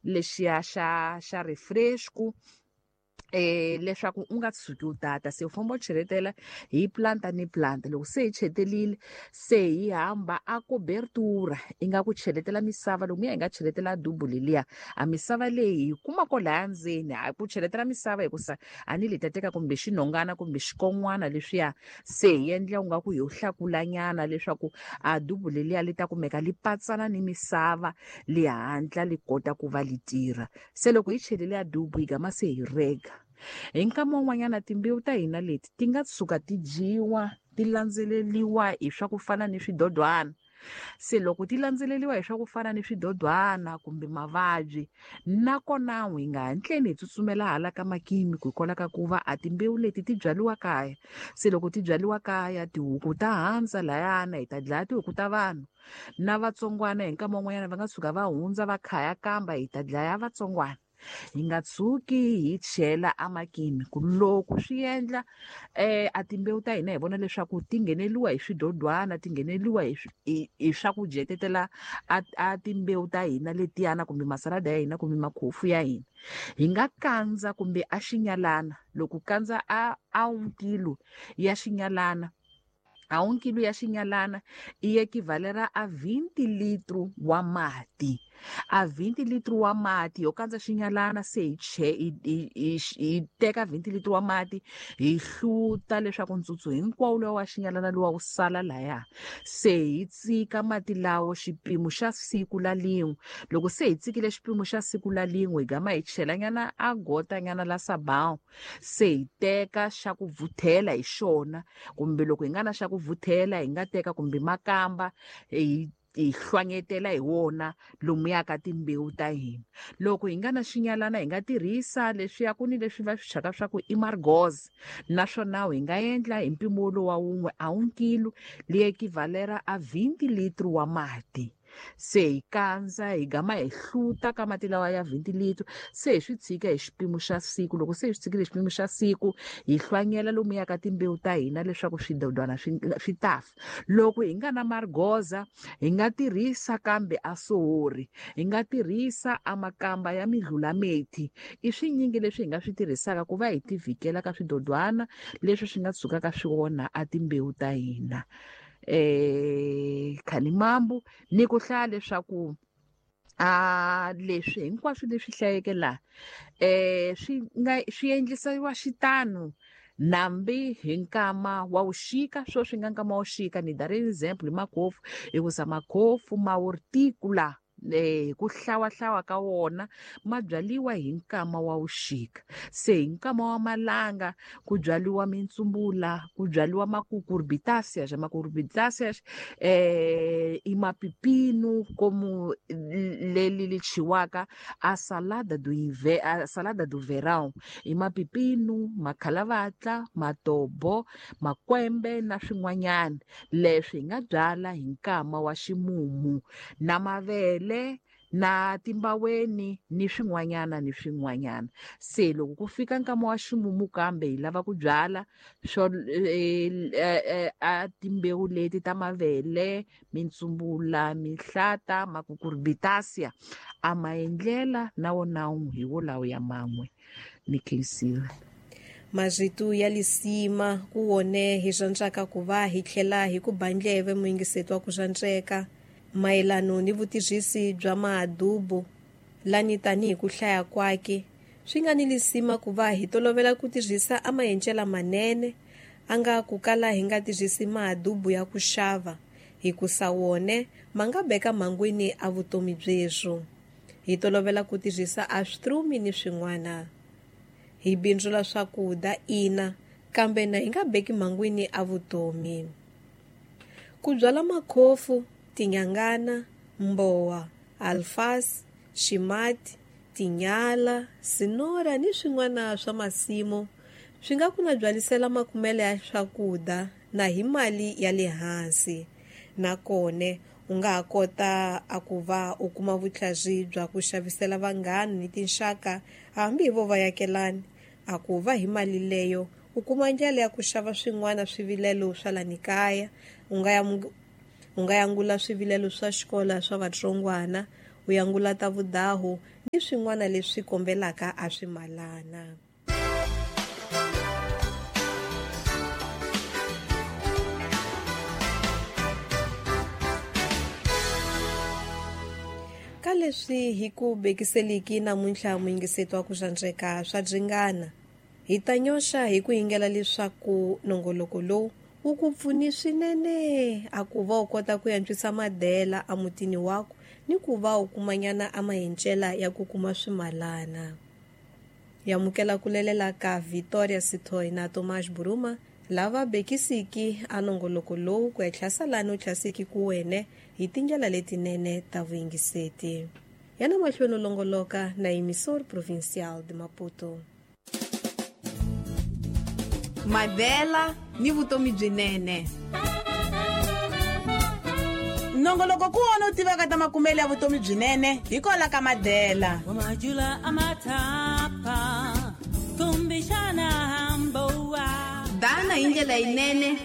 lexiya xa refresco leswaku u nga tshuki u tata. Se u famba u cheletela hi planta ni planta. Loko se hi chetelile, se hi hamba a cobertura ingaku cheletela misava. Loko hi nga cheletela dubu leliya, a misava leyi hi kuma ko laya ndzeni, a ku cheletela misava hikusa a ni li ta teka kumbe xinhongana kumbe xikon'wana leswiya, se hi endla ungaku hi hlakulanyana leswaku a dubu leliya li ta kumeka li patsana ni misava, li hatla li kota ku va li tirha. Se loko hi chelele a dubu hi gama se hi rega. Hi nkama wun'wanyana timbewu ta hina leti ti nga tshuka ti dyiwa, ti landzeleriwa hi swa ku fana ni swidodwana. Se loko ti landzeleriwa hi swa ku fana ni swidodwana kumbe mavabyi, nakona hi nga hatleni hi tsutsumela hala ka makimi hikwalaho ka ku va a timbewu leti ti byariwa kaya. Se loko ti byariwa kaya, tihuku ta handza layana, hi ta dlaya tihuku ta vanhu. Na vatsongwana hi nkama wun'wanyana va nga tshuka va hundza va khaya kamba, hi ta dlaya vatsongwana. Hi nga tshuki hi chela amakimi ku loko swi endla a timbewu ta hina hi vona leswaku ti ngheneliwa hi swidodwana, ti ngheneliwa hi swa ku dyetetela a timbewu ta hina letiyana kumbe masalada ya hina kumbe makhofu ya hina. Hi nga kandza kumbe a xinyalana, loko kandza a 1 kilo ya xinyalana, a 1 kilo ya xinyalana i equivalera a 20 litro wa mati. A 20 litro wa mati yo kandza xinyalana, se hi che, hi, hi, hi, hi teka 20 litro wa mati hi hluta leswaku ntsutsu hinkwawo lowa wa xinyalana lowa wu sala laya. Se hi tsika mati lawo xipimo xa siku la lin'we. Loko se hi tsikile xipimo xa siku la lin'we, hi gama hi chelanyana a gotanyana la sabão. Se hi teka xa ku vuthela hi xona, kumbe loko hi nga na xa ku vuthela hi nga teka kumbe makamba hi hlwanyetela hi wona lomuya ka timbewu ta hina. Loko hi nga na xinyalana hi nga tirhisa leswiya ku ni leswi va swi thyaka swa ku i margoz, naswona hi nga endla hi mpimo lowa wun'we a 1 kilo li equivalera a 20 litro wa mati. Se hi kandza hi gama hi hluta ka mati lawa ya 20 litro, se hi swi tshika hi xipimo xa siku. Loko se hi swi tshikile hi xipimo xa siku, hi hlwanyela lomuya ka timbewu ta hina leswaku swidodwana swi ta fa. Loko hi nga na margoza, hi nga tirhisa kambe a sohori, hi nga tirhisa a makamba ya midlulamethi. I swinyingi leswi hi nga swi tirhisaka ku va hi tivhikela ka swidodwana leswi swi nga tshukaka swi onha a timbewu ta hina. Khanimambu ni ku hlaya leswaku a leswi hinkwaswo leswi hlayeke laha, swi nga swi endlisiwa xitano nambi hi nkama wa vuxika. Swo swi nga nkama wa vuxika, ni dari example hi makhofu, hikusa makhofu ma horticola hi ku hlawahlawa ka wona ma byariwa hi nkama wa vuxika. Se hi nkama wa malanga ku byariwa mintsumbula, ku byariwa makukurbitaceae. Makukurbitaceae i mapipinu komu leli li chiwaka a salada do inve, a salada do verão, i mapipinu, makhalavatla, matobo, makwembe na swin'wanyana. Leswi hi nga byala hi nkama wa ximumu, na mavele na timbaweni ni swin'wanyana ni swin'wanyana. Se loko ku fika nkama wa ximumu kambe hi lava ku byala swo a timbewu leti ta mavele, mintsumbula, mihlata, makukurbitaceae, a maendlela na wona hi wolawo ya man'we. Ni khensile. Marito ya lisima ku wone hi rhandzaka ku va hi tlhela hi ku ba ndleve muyingiseti wa ku rhandzeka mayelano ni vutirhisi bya madubu lani tanihi ku hlaya kwake. Swi nga ni lisima ku va hi tolovela ku tirhisa a maendlelo manene, a nga ku kala hi nga tirhisi madubu ya ku xava, hikusa wone ma nga beka mhangwini a vutomi byeswo. Hi tolovela ku tirhisa a switrumi ni swin'wana. Hi bindzula swakudya ina, kambe na hi nga beki mhangwini a vutomi. Ku byala makhofu, tinyangana, mbowa, alfasi, ximati, tinyala, sinora ni swin'wana swa masimu swi nga ku na byalisela makumelo ya swakudya na hi mali ya le hansi. Nakona u nga ha kota a ku va u kuma vutlhari bya ku xavisela vanghana ni tinxaka hambi hi vo vayakelani, a ku va hi mali leyo u kuma ndlela ya ku xava swin'wana swivilelo swa lani kaya. U nga ya yangula swivilelo swa xikolo swa vatsongwana, ku yangula ta vudahu ni swin'wana leswi kombelaka a swimalana. Ka leswi hi ku bekiseliki namuntlha muyingiseti wa ku xandzeka swa dzingana, hi ta nyoxa hi ku yingela leswaku nongoloko lowu wu ku pfuni swinene a ku va u kota ku antswisa madela emutini waku ni ku va u kumanyana a mahencela ya ku kuma swimalana. Hi amukela ku lelela ka Victoria Sithoi na Tomás Buruma lava bekisiki a nongoloko lowu ku etlhasa lani u tlhasiki ku wene hi tindlela letinene ta vuyingiseti. Yana mahlweni u longoloka na Emissor Provincial de Maputo. Madela ni vutomi byinene. Nongoloko ku wona u tivaka ta makumelo ya vutomi byinene hi kola ka Madela. Dana hi ndlela yinene.